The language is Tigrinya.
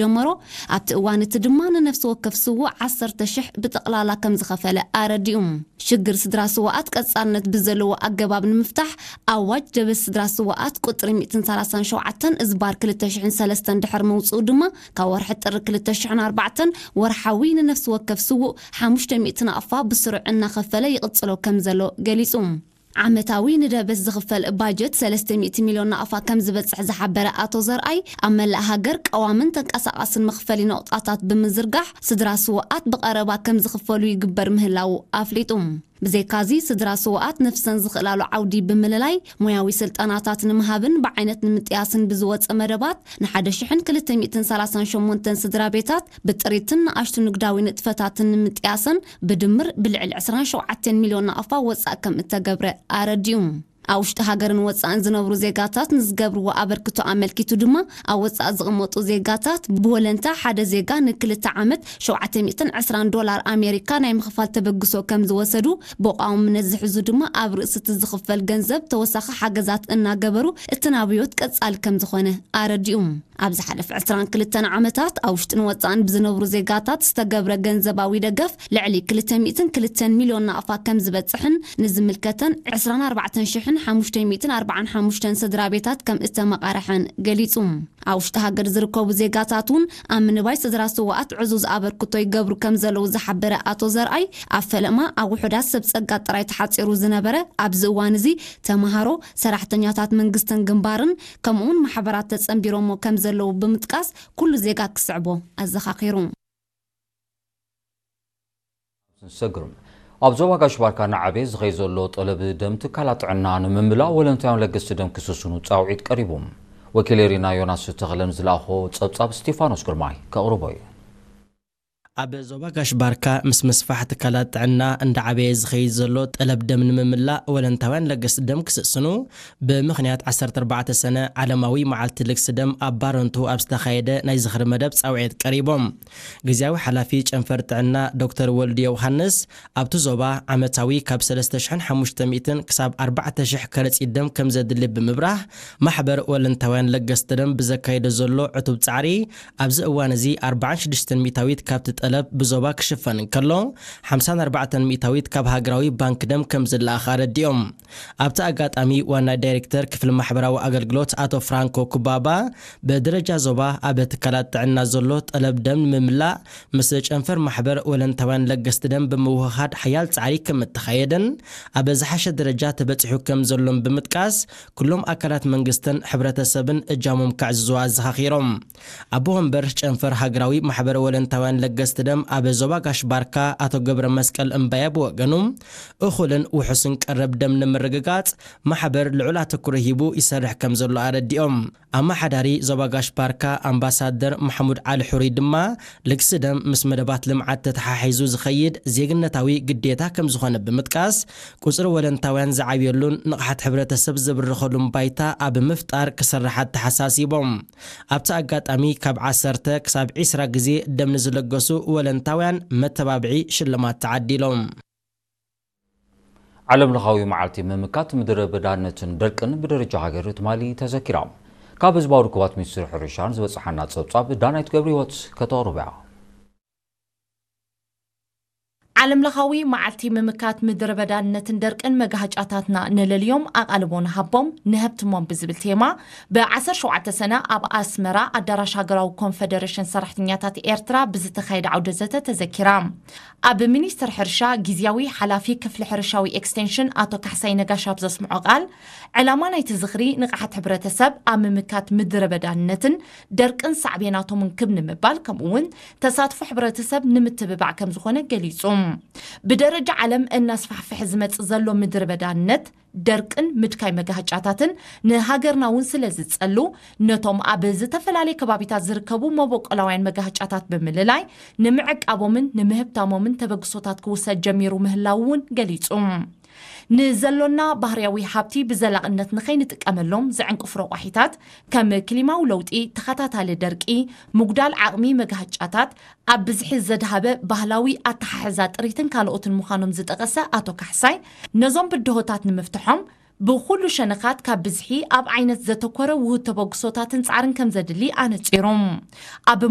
ጀመሮ ኣብቲ እዋን እቲ ድማ ንነፍሲ ወከፍ ስዉእ ዓሰርተ ሽሕ ብጠቕላላ ከም ዝኸፈለ ኣረዲኡ። ሽግር ስድራ ስውኣት ቀጻልነት ብዘለዎ ኣገባብ ንምፍታሕ ኣዋጅ ደበስ ስድራ ስውኣት ቁጽሪ ሚእትን ሰላሳን ሸውዓተን እዝባር ክልተ ሽሕን ሰለስተን ድሕር መውጽኡ ድማ ካብ ወርሒ ጥሪ ክልተ ሽሕን ኣርባዕተን ወርሓዊ ንነፍሲ ወከፍ ስዉእ ሓሙሽተ ሚእቲ ናቕፋ ብስሩዕ እናኸፈለ ይቕጽሎ ከም ዘሎ ገሊጹ። ዓመታዊ ንደበስ ዝኽፈል ባጀት ሰለስተ ሚእቲ ሚልዮን ናቕፋ ከም ዝበጽሕ ዝሓበረ ኣቶ ዘርኣይ፣ ኣብ መላእ ሃገር ቀዋምን ተንቀሳቓስን መኽፈሊ ነቑጣታት ብምዝርጋሕ ስድራ ስውኣት ብቐረባ ከም ዝኽፈሉ ይግበር ምህላዉ ኣፍሊጡ። ብዘይካዚ ስድራ ስውኣት ነፍሰን ዝኽእላሉ ዓውዲ ብምልላይ ሞያዊ ስልጠናታት ንምሃብን ብዓይነት ንምጥያስን ብዝወጸ መደባት ንሓደ ሽሕን ክልተ ሚእትን ሰላሳን ሸሞንተን ስድራ ቤታት ብጥሪትን ንኣሽቱ ንግዳዊ ንጥፈታትን ንምጥያሰን ብድምር ብልዕሊ ዕስራን ሸውዓተን ሚልዮን ናቕፋ ወጻእ ከም እተገብረ ኣረዲኡ። ኣብ ውሽጢ ሃገርን ወጻእን ዝነብሩ ዜጋታት ንዝገብርዎ ኣበርክቶ ኣመልኪቱ ድማ ኣብ ወጻእ ዝቕመጡ ዜጋታት ብወለንታ ሓደ ዜጋ ንክልተ ዓመት ሸውዓተ ሚእትን ዕስራን ዶላር ኣሜሪካ ናይ ምኽፋል ተበግሶ ከም ዝወሰዱ ብቋውምነት ዝሕዙ ድማ ኣብ ርእሲ እቲ ዝኽፈል ገንዘብ ተወሳኺ ሓገዛት እናገበሩ እቲ ናብዮት ቀጻሊ ከም ዝኾነ ኣረዲኡ። ኣብ ዝሓለፈ ዕስራን ክልተን ዓመታት ኣብ ውሽጥን ወጻእን ብዝነብሩ ዜጋታት ዝተገብረ ገንዘባዊ ደገፍ ልዕሊ ክልተ ሚእትን ክልተን ሚልዮን ናቕፋ ከም ዝበጽሕን ንዝምልከተን ዕስራን ኣርባዕተን ሽሕን ሓሙሽተ ሚእትን ኣርባዓን ሓሙሽተን ስድራ ቤታት ከም እተመቓርሐን ገሊጹ። ኣብ ውሽጢ ሃገር ዝርከቡ ዜጋታት እውን ኣብ ምንባይ ስድራ ስውኣት ዕዙዝ ኣበርክቶ ይገብሩ ከም ዘለዉ ዝሓበረ ኣቶ ዘርኣይ፣ ኣብ ፈለማ ኣብ ውሑዳት ሰብ ጸጋ ጥራይ ተሓጺሩ ዝነበረ ኣብዚ እዋን እዚ ተምሃሮ፣ ሰራሕተኛታት መንግስትን ግንባርን ከምኡውን ማሕበራት ተጸንቢሮሞ ከም ዘለዉ ብምጥቃስ ኩሉ ዜጋ ክስዕቦ ኣዘኻኺሩ። ንሰግር ኣብ ዞባ ጋሽ ባርካ እናዓበየ ዝኸይ ዘሎ ጠለብ ደም ትካላት ጥዕና ንምምላእ ወለንታውያን ለገስቲ ደም ክስስኑ ጻውዒት ቀሪቡ። ወኪል ኤሪና ዮናስ ተኽለ ንዝለኣኾ ጸብጻብ ስቴፋኖስ ግርማይ ከቕርቦ እዩ። ኣብ ዞባ ጋሽ ባርካ ምስ ምስፋሕ ትካላት ጥዕና እንዳዓበየ ዝኸይድ ዘሎ ጠለብ ደም ንምምላእ ወለንታውያን ለገስቲ ደም ክስስኑ ብምኽንያት ዓሰርተ ኣርባዕተ ሰነ ዓለማዊ መዓልቲ ልግሲ ደም ኣብ ባረንቱ ኣብ ዝተኻየደ ናይ ዝኽሪ መደብ ጻውዒት ቀሪቦም። ግዝያዊ ሓላፊ ጨንፈር ጥዕና ዶክተር ወልዱ ዮውሃንስ ኣብቲ ዞባ ዓመታዊ ካብ ሰለስተ ሽሕን ሓሙሽተ ሚእትን ክሳብ ኣርባዕተ ሽሕ ከረጺት ደም ከም ዘድሊ ብምብራህ ማሕበር ወለንታውያን ለገስቲ ደም ብዘካየዶ ዘሎ ዕቱብ ጻዕሪ ኣብዚ እዋን እዚ ኣርባዓን ሽዱሽተን ሚእታዊት ካብቲ ጠለብ ብዞባ ክሽፈን እንከሎ ሓምሳን ኣርባዕተን ሚእታዊት ካብ ሃገራዊ ባንክ ደም ከም ዝለኣኽ ኣረዲኦም። ኣብቲ ኣጋጣሚ ዋና ዳይሬክተር ክፍሊ ማሕበራዊ ኣገልግሎት ኣቶ ፍራንኮ ኩባባ ብደረጃ ዞባ ኣብ ትካላት ጥዕና ዘሎ ጠለብ ደም ንምምላእ ምስ ጨንፈር ማሕበር ወለንታውያን ለገስቲ ደም ብምውህሃድ ሓያል ጻዕሪ ከም እተኻየደን ኣብ ዝሓሸ ደረጃ ተበጺሑ ከም ዘሎን ብምጥቃስ ኩሎም ኣካላት መንግስትን ሕብረተሰብን እጃሞም ከዕዝዙ ኣዘኻኺሮም። ኣቦ ወንበር ጨንፈር ሃገራዊ ማሕበር ወለንታውያን ለገስቲ ደም ኣብ ዞባ ጋሽ ባርካ ኣቶ ገብረ መስቀል እምባየ ብወገኑ እኹልን ውሑስን ቀረብ ደም ንምርግጋጽ ማሕበር ልዑል ኣተኩሮ ሂቡ ይሰርሕ ከም ዘሎ ኣረዲኦም። ኣመሓዳሪ ዞባ ጋሽ ባርካ ኣምባሳደር ማሕሙድ ዓሊ ሕሩይ ድማ ልግሲ ደም ምስ መደባት ልምዓት ተተሓሒዙ ዝኸይድ ዜግነታዊ ግዴታ ከም ዝኾነ ብምጥቃስ ቁጽሪ ወለንታውያን ዝዓብየሉን ንቕሓት ሕብረተሰብ ዝብርኸሉን ባይታ ኣብ ምፍጣር ክስራሕ ኣተሓሳሲቦም። ኣብቲ ኣጋጣሚ ካብ ዓሰርተ ክሳብ ዒስራ ግዜ ደም ንዝለገሱ ወለንታውያን መተባብዒ ሽልማት ተዓዲሎም። ዓለም ለኻዊ መዓልቲ ምምካት ምድረ በዳነትን ደርቅን ብደረጃ ሃገር ትማሊ ተዘኪራ። ካብ ህዝባዊ ርክባት ሚኒስትሪ ሕርሻን ዝበጽሓና ጸብጻብ ዳናይት ገብረ ህይወት ከተቕርቦ እያ። ዓለም ለኻዊ መዓልቲ ምምካት ምድረ በዳነትን ደርቅን መጋሃጫታትና ንለልዮም ኣቓልቦ ንሃቦም ንሀብትሞም ብዝብል ቴማ ብ ዓሰርተ ሸውዓተ ሰነ ኣብ ኣስመራ ኣዳራሽ ሃገራዊ ኮንፈደሬሽን ሰራሕተኛታት ኤርትራ ብዝተኻየደ ዓውደ ዘተ ተዘኪራ። ኣብ ሚኒስቴር ሕርሻ ግዝያዊ ሓላፊ ክፍሊ ሕርሻዊ ኤክስቴንሽን ኣቶ ካሕሳይ ነጋሽ ኣብ ዘስምዖ ቃል፣ ዕላማ ናይቲ ዝኽሪ ንቕሓት ሕብረተሰብ ኣብ ምምካት ምድረ በዳነትን ደርቅን ሳዕቤናቶምን ክብ ንምባል ከምኡ እውን ተሳትፎ ሕብረተሰብ ንምትብባዕ ከም ዝኾነ ገሊጹ። ብደረጃ ዓለም እናስፋሕፍሐ ዝመጽእ ዘሎ ምድረ በዳነት ደርቅን ምድካይ መጋህጫታትን ንሃገርና እውን ስለ ዝጸሉ፣ ነቶም ኣብ ዝተፈላለየ ከባቢታት ዝርከቡ መበቆላውያን መጋህጫታት ብምልላይ ንምዕቃቦምን ንምህብታሞምን ተበግሶታት ክውሰድ ጀሚሩ ምህላው እውን ገሊጹ። ንዘሎና ባህርያዊ ሃብቲ ብዘላቕነት ንኸይንጥቀመሎም ዝዕንቅፉ ረቋሒታት ከም ክሊማዊ ለውጢ፣ ተኸታታሊ ደርቂ፣ ምጉዳል ዓቕሚ መጋህጫታት፣ ኣብ ብዝሒ ዘድሃበ ባህላዊ ኣተሓሕዛ ጥሪትን ካልኦትን ምዃኖም ዝጠቐሰ ኣቶ ካሕሳይ፣ ነዞም ብድሆታት ንምፍትሖም ብኹሉ ሸነኻት ካብ ብዝሒ ኣብ ዓይነት ዘተኮረ ውሁድ ተበግሶታትን ጻዕርን ከም ዘድሊ ኣነጺሮም። ኣብ